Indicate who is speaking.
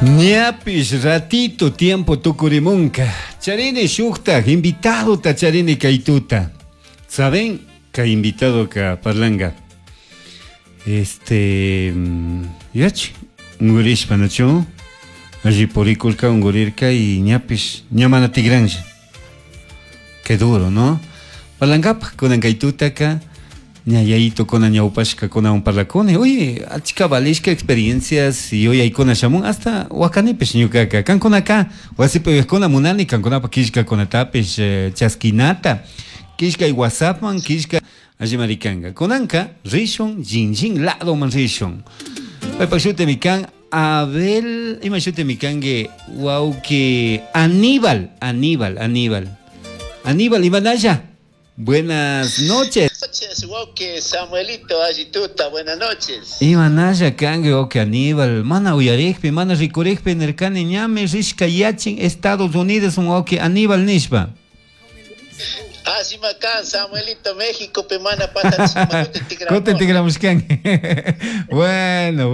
Speaker 1: Ñapish ratito tiempo tukurimunka. Charini shuktak invitadota charini kay tuta. ¿Saben? Kay invitadoka parlanga. Este, yach, ungurishpa nachu? Alli purikurka ungurirka y ñapish ña mana tigranlla. Qué duro, ¿no? Parlangapaj kunan kay tutaka ña yayitokuna ñawpashkakunawan parlakuni. Uy, achka valishka experiencias yuyaykuna shamun hasta wakanipish ñukaka. Kankunaka wasipi uyajkuna munani kankunapak killkakunatapish chaskinata. Killkay WhatsAppman, killka allimari kanka. Kunanka rishun Jinjin ladoman rishun. Paypak shutimi kan Abel, ima shutimi kanki wawki Aníbal, Aníbal, Aníbal. Aníbal, imanalla? Buenas noches.
Speaker 2: Noches, wawki Samuelito, alli tuta, buenas noches.
Speaker 1: Imanalla kanki wawki Aníbal, mana uyarikpi, mana rikurikpi nirkani ñami rishka yachin Estados Unidos wawki Aníbal nishpa.
Speaker 2: Allima kan Samuelito Méxicopi mana patachishpa kutin
Speaker 1: Kutin
Speaker 2: tikramushkanki.
Speaker 1: tikramushkanki. Bueno.